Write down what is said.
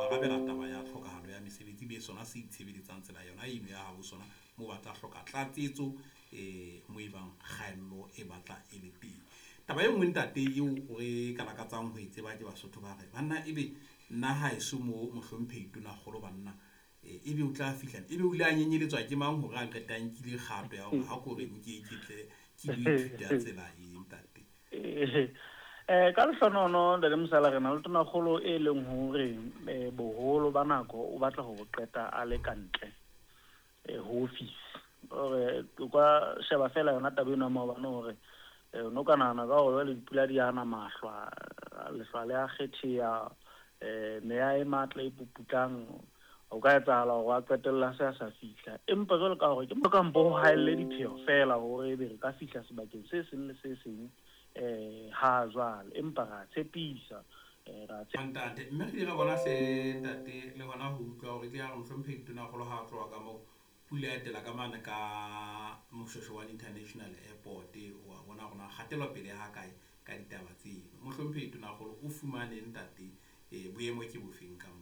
arabela taba ya tlhokahalo ya mesebetsi be sona se itshebeletsang tsela yona eno ya habo sona moo ba tla hloka tlatsetso mo e bang kgaello e batla e le teng. Taba e nngwe ntate eo re ka lakatsang ho e tseba ke Basotho ba re banna ebe nna haeso mo mohlomphehi Tonakgolo banna ebe o tla fihla ebe o ile a nyenyeletswa ke mang hore a qete a nkile kgato ya hore ha ko re nke ke tle ke lo ithuta tsela e ntate? Ka lehlonono ntate Mosala, re na le tonakgolo e leng hore boholo ba nako o batla ho qeta a le ka ntle ho office. Hore o ka sheba fela yona taba eno ya maobane hore no ka nahana ka hore jwale dipula di ana mahlwa, lehlwa le a kgetheha, meya e matla e puputlang, ho ka etsahala hore a qetella se a sa fihla. Empa jwalo ka hore ke mo kampo ho haelle dipheo fela hore ebe re ka fihla sebakeng se seng le se seng ha jwale, empa ra tshepisa, ra Ntate, mme re ile ra bona hle ntate le hona ho utlwa hore ke ya re mohlomphehi Tonakgolo ha a tloha ka moo pula ya etela ka mane ka Moshoeshoe one International Airport. Wa bona hore na kgatelopele ha kae ka ditaba tseno. Mohlomphehi Tonakgolo o fumane ntate boemo ke bofeng ka moo?